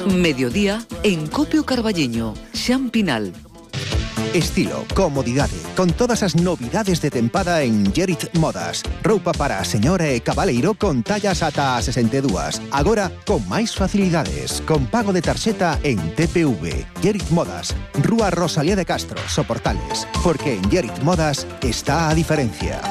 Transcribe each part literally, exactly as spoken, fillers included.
Mediodía en Copio Carballiño, Xampinal. Estilo, comodidade, con todas as novidades de tempada en Gerit Modas. Roupa para a señora e cabaleiro con tallas ata a sesenta e dúas. Agora, con máis facilidades, con pago de tarxeta en T P V. Gerit Modas, Rúa Rosalía de Castro, Soportales. Porque en Gerit Modas está a diferencia.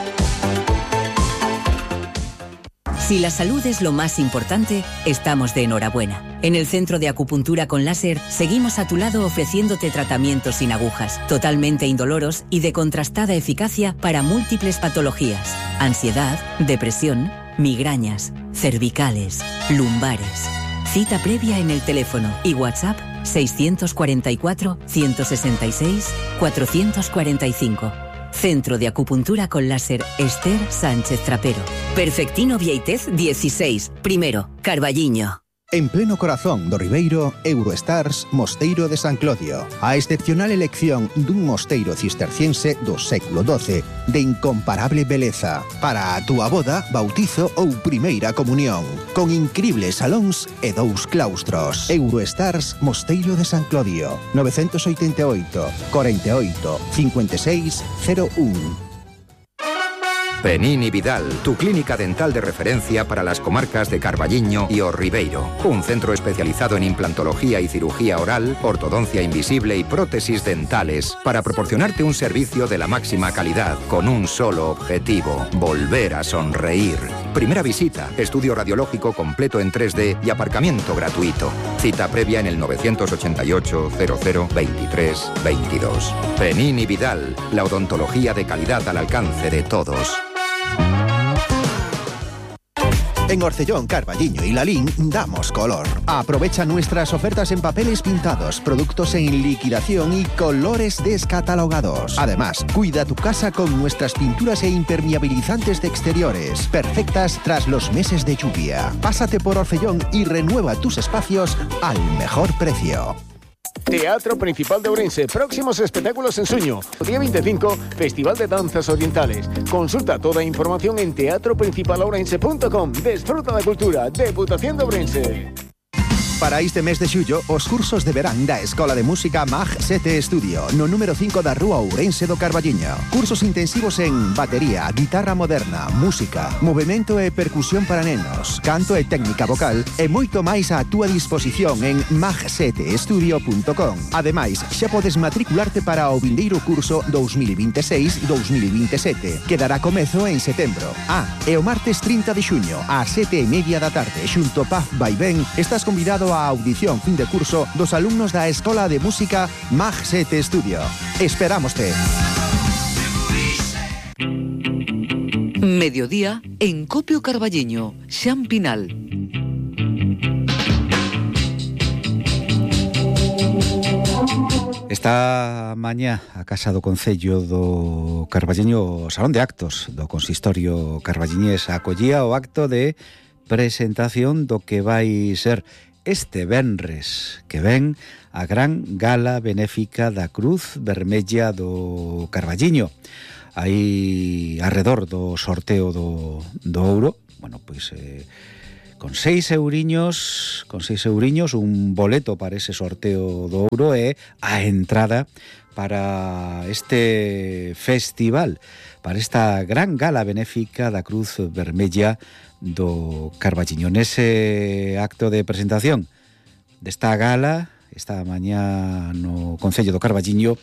Si la salud es lo más importante, estamos de enhorabuena. En el Centro de Acupuntura con Láser seguimos a tu lado ofreciéndote tratamientos sin agujas, totalmente indoloros y de contrastada eficacia para múltiples patologías: ansiedad, depresión, migrañas, cervicales, lumbares. Cita previa en el teléfono y WhatsApp seiscientos cuarenta y cuatro, ciento sesenta y seis, cuatrocientos cuarenta y cinco. Centro de Acupuntura con Láser Esther Sánchez Trapero. Perfectino Vieitez dieciséis, primero, Carballiño. En pleno corazón do Ribeiro, Eurostars Mosteiro de San Clodio. A excepcional elección dun mosteiro cisterciense do século doce, de incomparable beleza, para a túa boda, bautizo ou primeira comunión, con incribles salóns e dous claustros. Eurostars Mosteiro de San Clodio, nove oito oito, cuarenta y ocho, cincuenta y seis, cero uno. Penini Vidal, tu clínica dental de referencia para las comarcas de Carballiño y O Ribeiro. Un centro especializado en implantología y cirugía oral, ortodoncia invisible y prótesis dentales, para proporcionarte un servicio de la máxima calidad, con un solo objetivo: volver a sonreír. Primera visita, estudio radiológico completo en tres D y aparcamiento gratuito. Cita previa en el nueve ocho ocho, cero cero, veintitrés, veintidós. Penini Vidal, la odontología de calidad al alcance de todos. En Orcellón, Carballiño y Lalín damos color. Aprovecha nuestras ofertas en papeles pintados, productos en liquidación y colores descatalogados. Además, cuida tu casa con nuestras pinturas e impermeabilizantes de exteriores, perfectas tras los meses de lluvia. Pásate por Orcellón y renueva tus espacios al mejor precio. Teatro Principal de Ourense, próximos espectáculos en Suño. Día veinticinco, Festival de Danzas Orientales. Consulta toda a información en teatro principal ourense punto com. Desfruta da cultura, Deputación de Ourense. Para este mes de xullo, os cursos de verán da Escola de Música Mag sete Estudio, no número cinco da Rúa Ourense do Carballiño. Cursos intensivos en batería, guitarra moderna, música, movimento e percusión para nenos, canto e técnica vocal e moito máis á túa disposición en mag sete estudio punto com. Ademais, xa podes matricularte para o vindeiro curso dos mil veintiséis dos mil veintisiete, que dará comezo en setembro. Ah, e o martes trinta de xuño, ás sete e media da tarde, xunto Paz Vaivén, estás convidado a audición fin de curso dos alumnos da Escola de Música Mag sete Estudio. Esperámoste. Mediodía en Copio Carballiño, Xampinal. Esta mañá a Casa do Concello do Carballiño, o Salón de Actos do Consistorio Carballiñés, acollía o acto de presentación do que vai ser este venres que ven a gran gala benéfica da Cruz Vermella do Carballiño. Aí arredor do sorteo do, do ouro, bueno, pois eh, con seis euriños, con seis euriños, un boleto para ese sorteo do ouro e a entrada para este festival, para esta gran gala benéfica da Cruz Vermella do Carballiño. Nese acto de presentación desta gala, esta mañá no Concello do Carballiño,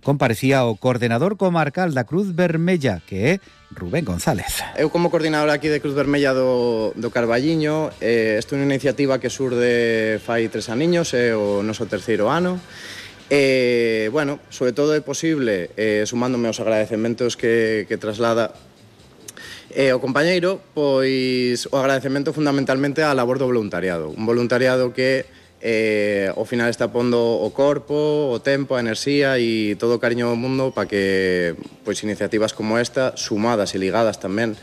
comparecía o coordenador comarcal da Cruz Vermella, que é Rubén González. Eu como coordinador aquí de Cruz Vermella do, do Carballiño, eh, esta é unha iniciativa que surde fai tres aniños, é o noso terceiro ano. E, bueno, sobre todo é posible, eh, sumándome aos agradecementos que, que traslada E o compañeiro, pois o agradecemento fundamentalmente á labor do voluntariado. Un voluntariado que eh, ao final está pondo o corpo, o tempo, a enerxía e todo o cariño do mundo para que pois iniciativas como esta, sumadas e ligadas tamén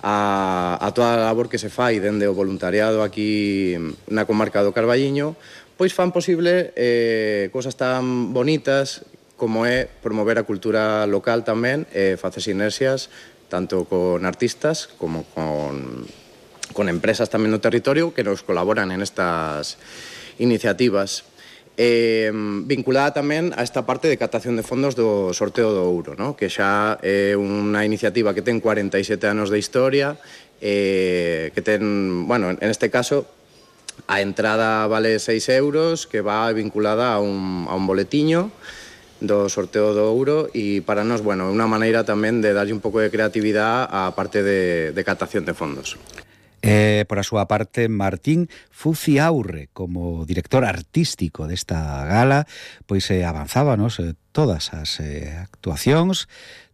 a, a toda a labor que se fai dende o voluntariado aquí na comarca do Carballiño, pois fan posible eh, cosas tan bonitas como é promover a cultura local tamén e facer sinerxias tanto con artistas como con, con empresas tamén no territorio que nos colaboran en estas iniciativas. Eh, vinculada tamén a esta parte de captación de fondos do sorteo do ouro, ¿no? Que xa é unha iniciativa que ten cuarenta e sete anos de historia, eh, que ten, bueno, en este caso a entrada vale seis euros, que va vinculada a un, a un boletiño do sorteo do ouro, e para nós, bueno, é unha maneira tamén de darlle un pouco de creatividade á parte de, de captación de fondos. Eh, por a súa parte, Martín Fuciaurre, como director artístico desta gala, pois eh, avanzábanos eh, todas as eh, actuacións,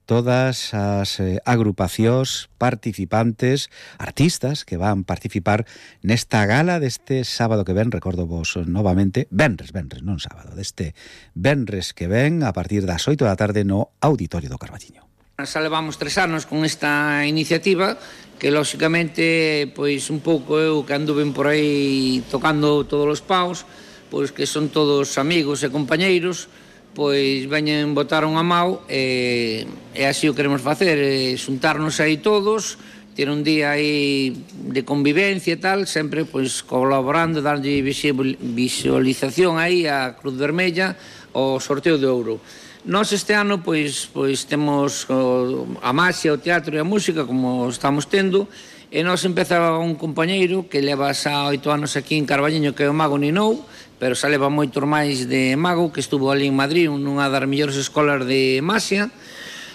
todas as eh, agrupacións participantes, artistas que van participar nesta gala deste sábado que ven, recordo vos novamente, venres, venres, non sábado, deste venres que ven a partir das oito da tarde no Auditorio do Carballiño. Xa levamos tres anos con esta iniciativa que, lóxicamente, pois un pouco eu que anduven por aí tocando todos os paus, pois que son todos amigos e compañeiros, pois veñen botaron a mau e, e así o queremos facer, e xuntarnos aí todos, ter un día aí de convivencia e tal, sempre pois colaborando, darlle visualización aí á Cruz Vermella ao sorteo de ouro. Nós este ano pois, pois temos o, a maxia, o teatro e a música como estamos tendo, e nós empezaba un compañeiro que leva xa oito anos aquí en Carballiño, que é o Mago Ninou, pero xa leva moitos máis de Mago, que estuvo ali en Madrid, nunha das mellores escolas de maxia.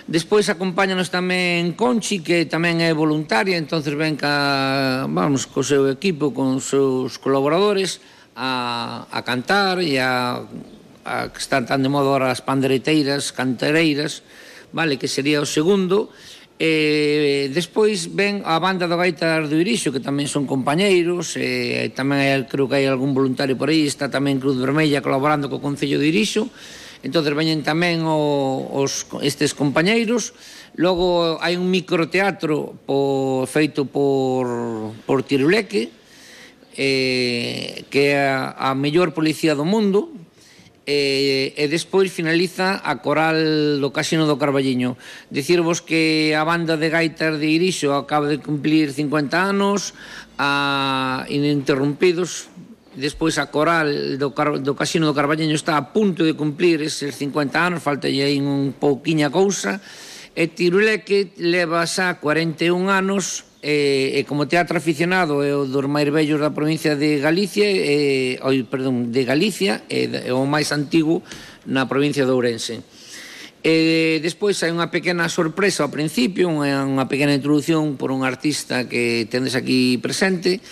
Despois acompáñanos tamén Conchi, que tamén é voluntaria, entonces ven ca, vamos, co seu equipo, con os seus colaboradores a, a cantar e a a, que están tan de moda ahora as pandereteiras, cantareiras, vale, que sería o segundo. E despois ven a banda do Gaitas do Irixo, que tamén son compañeiros, e tamén hai, creo que hai algún voluntario por aí, está tamén Cruz Vermella colaborando co Concello de Irixo, entonces veñen tamén o, os, estes compañeiros. Logo hai un microteatro po, feito por, por Tiruleque, eh, que é a, a mellor policía do mundo, e, e despois finaliza a coral do Casino do Carballiño. Dicirvos que a banda de Gaitas de Irixo acaba de cumplir cincuenta anos, a Ininterrumpidos, despois a coral do, Car do Casino do Carballiño está a punto de cumplir eses cincuenta anos, falta aí un pouquiña cousa, e Tiruleque leva xa cuarenta e un anos, e, e como teatro aficionado é o dos máis vellos da provincia de Galicia, e, oi, perdón, de Galicia, e, e o máis antigo na provincia de Ourense. E despois hai unha pequena sorpresa ao principio, unha, unha pequena introducción por un artista que tendes aquí presente,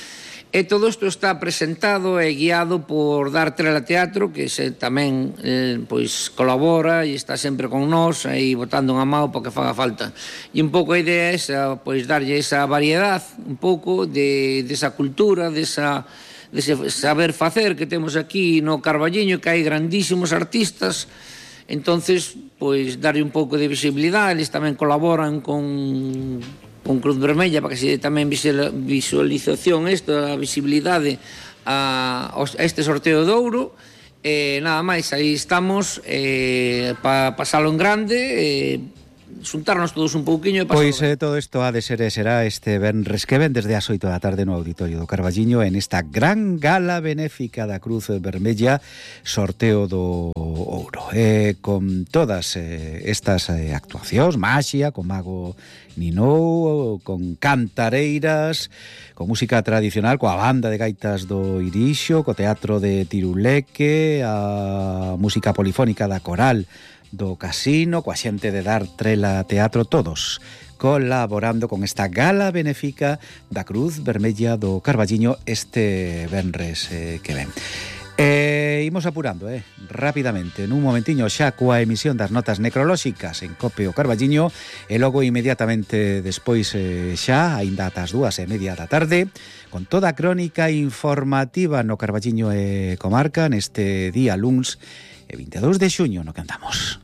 e todo isto está presentado e guiado por Dar Trela Teatro, que se tamén eh, pois colabora e está sempre con nós aí botando unha mão para que faga falta. E un pouco a idea é esa, pois darlle esa variedade un pouco de desa cultura, desa dese saber facer que temos aquí no Carballiño, que hai grandísimos artistas. Entonces, pois darlle un pouco de visibilidade, eles tamén colaboran con con Cruz Vermella para que se tamén visualización isto, a visibilidade a, a este sorteo de ouro. E nada máis, aí estamos eh, para pasalo en grande, eh, xuntarnos todos un pouquiño e pasalo. Pois eh, todo isto ha de ser e será este venres que ven desde as oito da tarde no Auditorio do Carballiño en esta gran gala benéfica da Cruz Vermella, sorteo do ouro, eh, con todas eh, estas eh, actuacións, maxia, con Mago Ninou, con cantareiras, con música tradicional, coa banda de Gaitas do Irixo, co teatro de Tiruleque, a música polifónica da coral do Casino, coa xente de Dar Trela Teatro, todos colaborando con esta gala benéfica da Cruz Vermella do Carballiño este venres eh, que ven. E imos apurando, eh, rapidamente, nun momentiño xa coa emisión das notas necrolóxicas en Cope o Carballiño, e logo inmediatamente despois eh, xa, aínda ata as dúas e media da tarde, con toda a crónica informativa no Carballiño e comarca neste día luns e veintidós de xuño no que andamos.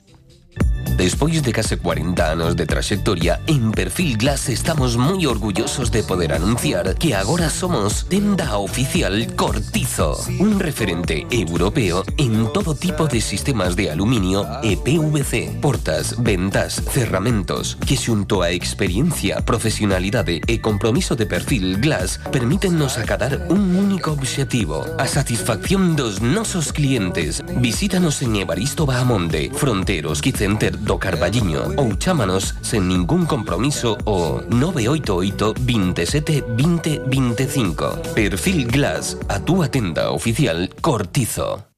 Despois de case cuarenta anos de traxectoria, en Perfil Glass estamos moi orgullosos de poder anunciar que agora somos tenda oficial Cortizo, un referente europeo en todo tipo de sistemas de aluminio e P V C, portas, ventas, cerramentos, que xunto a experiencia, profesionalidade e compromiso de Perfil Glass permítennos acadar un único obxectivo, a satisfacción dos nosos clientes. Visítanos en Evaristo Bahamonde, Fronteros Quicenter do Carballiño ou chámanos sen ningún compromiso o nove oito oito, veintisiete, veinte, veinticinco. Perfil Glass, a túa tenda oficial Cortizo.